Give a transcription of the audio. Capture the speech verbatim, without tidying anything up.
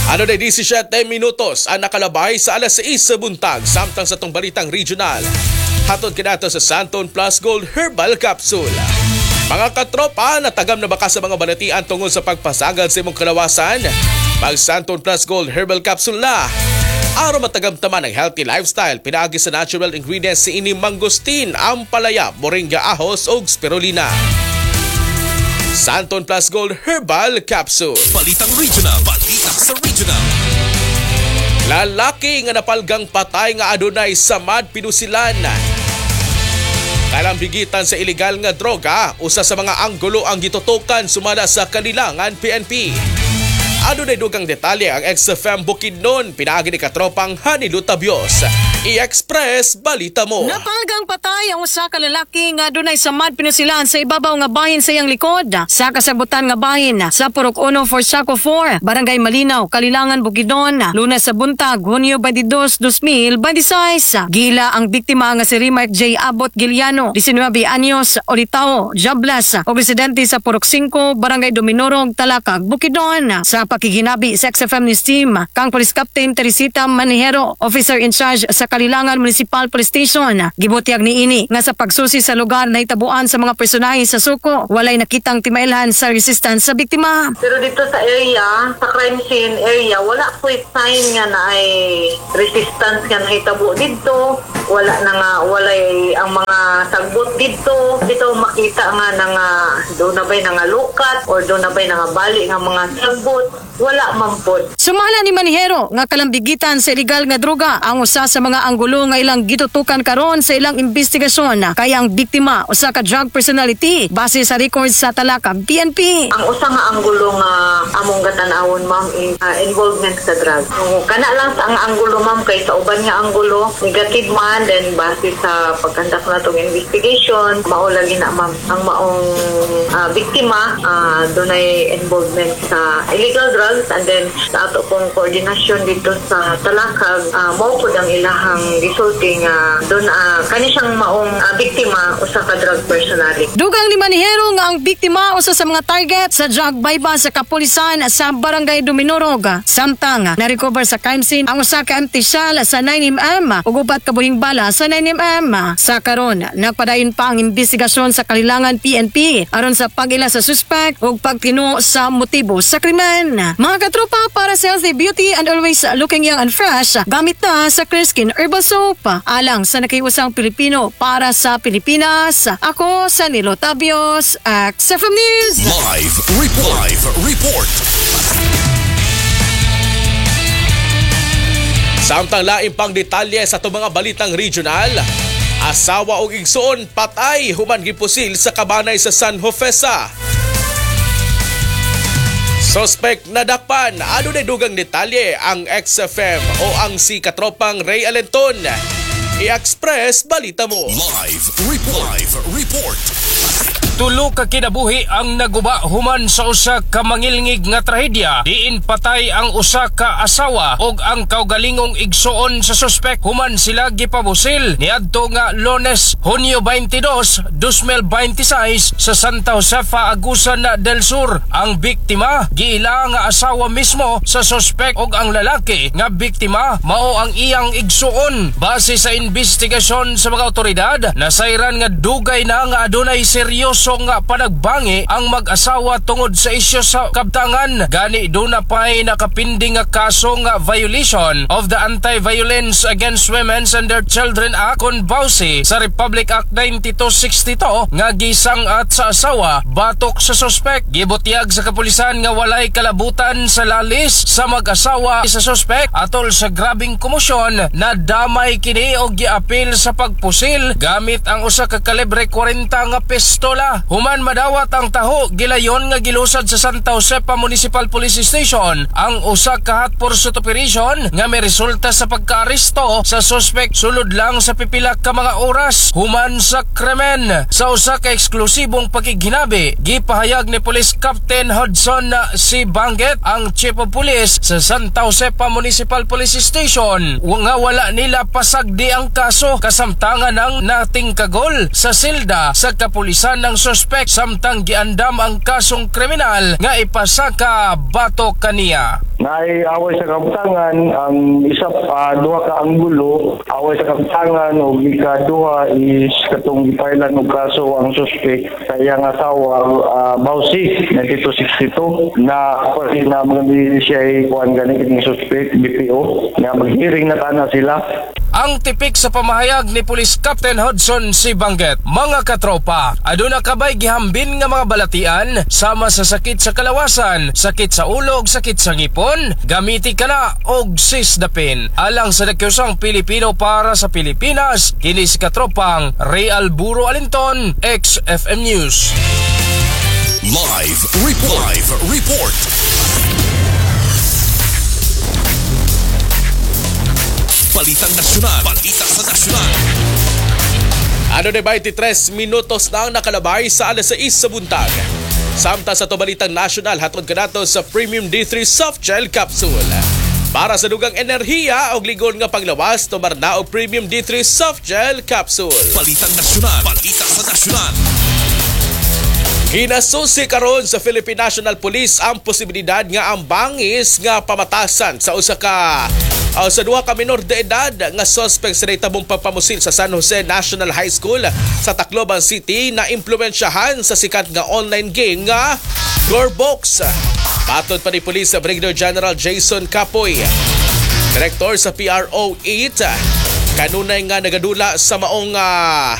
Ano na labing siyam minutos ang nakalabay sa alas sais sa buntag, samtang sa atong balitang regional. Hatod kinato sa Santon Plus Gold Herbal Capsule. Mga katropa, natagam na ba ka sa mga balatian tungod sa pagpasagad sa imong kalawasan? Mag Santon Plus Gold Herbal Capsule na. Aron matagam taman ang healthy lifestyle pinaagi sa natural ingredients si ini mangosteen, ampalaya, moringa, ahos ug spirulina. Santon Plus Gold Herbal Capsule. Balitang Regional. Balita sa Regional. Lalaki nga napalgang patay nga adunay samad pinusilan. Kalambigitan sa ilegal nga droga, usa sa mga anggulo ang gitutukan sumala sa Kalilangan P N P. Adunay dugang detalye ang X F M Bukidnon, pinaagi ni katropang Hanilo Tabios. I-Express Balita Mo. Napalgang patay ang usa ka lalaki nga dunay samad pinusilan sa ibabaw nga bahin sa iyang likod sa kasabutan nga bahin sa Purok one for Sako four, Barangay Malinaw, Kalilangan, Bukidnon, Lunes sa buntag, Hunyo twenty-two, twenty twenty-six. Gila ang biktima nga si Remark J. Abot Giliano, nineteen anyos, Olitao, jobless, o residente sa Purok five, Barangay Dominorog, Talakag, Bukidnon. Sa pakiginabi sa X F M News Team, kang Police Captain Teresita Manijero, officer in charge sa Kalilangan Municipal Police Station. Gibutyag ni ini nga sa pagsusi sa lugar na itabuan sa mga personahe sa suko, walay nakitang timailhan sa resistance sa biktima. Pero dito sa area, sa crime scene area, wala po sign nga na ay resistance nga nahitabo dito. Wala na nga, walay ang mga sagbot dito. Dito makita nga na nga doon na ba'y nangalukat or doon na ba'y nangabali nga mga sagbot. Wala man pod. Sumala ni Manijero nga kalambigitan sa ilegal nga droga ang usa sa mga anggulo nga ilang gitutukan karon sa ilang investigasyon, kaya ang biktima usa ka drug personality base sa records sa Talakag P N P. Ang usa nga anggulo nga among gatan-awon, ma'am, is uh, involvement sa drug. So, kana lang sa ang anggulo, ma'am, kay sa uban nga anggulo negative man. Then base sa pagkandak natong investigation, mao lagi na, ma'am, ang maong uh, biktima uh, dunay involvement sa illegal drugs. And then sa ato pong koordinasyon dito sa Talakag, uh, mao pud ang ilahang gisulti nga doon uh, kani siyang maong uh, biktima usa ka drug personality. Dugang ni Manijero nga ang biktima usa sa mga target sa drug buy-bust sa kapulisan sa Barangay Dominorog. Samtang na-recover sa crime scene ang usa ka empty shell sa nine millimeter ug upat ka buhing bala sa nine millimeter. Sa karon, nagpadayon pa ang investigasyon sa Kalilangan P N P aron sa pag-ila sa suspect ug pagtino sa motibo sa krimen. Mga katropa, para sa healthy beauty and always looking young and fresh, gamit na sa Clear Skin Herbal Soap. Alang sa nakiusang Pilipino para sa Pilipinas, ako sa Nilo Tabios, X F M News. Live Report. Live Report. Samtang lain pang detalye sa atong mga balitang regional, asawa og igsoon patay human gipusil sa kabanay sa San Jofesa. Suspect nadakpan, adunay dugang detalye ang X F M o ang si katropang Ray Alenton. I-Express Balita Mo. Live Report. Live Report. Tulo ka kinabuhi ang naguba human sa usa ka mangilngig nga trahedya diin patay ang usa ka asawa ug ang kaugalingong igsuon sa suspek human sila gipabusil niadto nga Lunes, Hunyo twenty-two, twenty twenty-six sa Santa Josefa, Agusan del Sur. Ang biktima giila nga asawa mismo sa suspek ug ang lalaki nga biktima mao ang iyang igsuon. Base sa investigasyon sa mga otoridad, nasayran nga dugay na nga adunay seryoso nga panagbangi ang mag-asawa tungod sa isyu sa kabtangan. Gani duna pa'y nakapinding nga kaso nga violation of the Anti-Violence Against Women and Their Children Act kon bawsi sa Republic Act ninety-two sixty-two nga gisang-at sa asawa batok sa suspek. Gibutyag sa kapulisan nga walay kalabutan sa lalis sa mag-asawa sa suspek atol sa grabing komosyon na damay kini og giapil sa pagpusil gamit ang usa ka kalibre kwarenta nga pistola. Human madawat ang taho, gilayon nga gilusad sa Santa Josepa Municipal Police Station ang usa ka hot pursuit operation nga may resulta sa pagkaaresto sa suspek sulod lang sa pipila ka mga oras human sa krimen. Sa usa ka eksklusibong pakighinabi, gipahayag ni Police Captain Hudson C. Banget, ang Chief of Police sa Santa Josepa Municipal Police Station, nga wala nila pasagdi ang kaso kasamtangan ng natingkagol sa silda sa kapulisan ng suspect samtang giandam ang kasong kriminal nga ipasaka batok kaniya. Naay away sa kabtangan, ang isa pa duha ka anggulo, away sa kabtangan ug ikaduha is katong gipailan og kaso ang suspect sa iyang asawa, uh, Bausi nineteen sixty-two, na pwede na mga siya kuan gani kining suspect B P O nga mag-hearing na tana sila. Ang tipik sa pamahayag ni Police Captain Hudson C. Banget, mga katropa, aduna kabay gihambin nga mga balatian sama sa sakit sa kalawasan, sakit sa ulog, sakit sa ngipon, gamiti ka na og Sisdapin. Alang sa Nakyusang Pilipino para sa Pilipinas, kini si katropang Ray Alburo Alinton, X F M News. Live Report. Live Report. Balitang Nasyonal. Balita sa Nasyonal. Ano na twenty-three minutos na ang nakalabay sa alas sais sa buntag. Samtang sa ato balitang nasyonal, hatod kanato sa Premium D three Soft Gel Capsule. Para sa dugang enerhiya o ligon nga panglawas, tumar na og Premium D three Soft Gel Capsule. Balitang Nasyonal. Balita sa Nasyonal. Ginasusi karon sa Philippine National Police ang posibilidad nga ang bangis nga pamatasan sa usa ka uh, sa duha ka minor de edad nga suspect sa nahitabong pagpamusil sa San Jose National High School sa Tacloban City na impluwensyahan sa sikat nga online game nga Gorbox. Matod pa ni Police Brigadier General Jason Capoy, Director sa P R O eight, kanunay nga nagadula sa maong uh,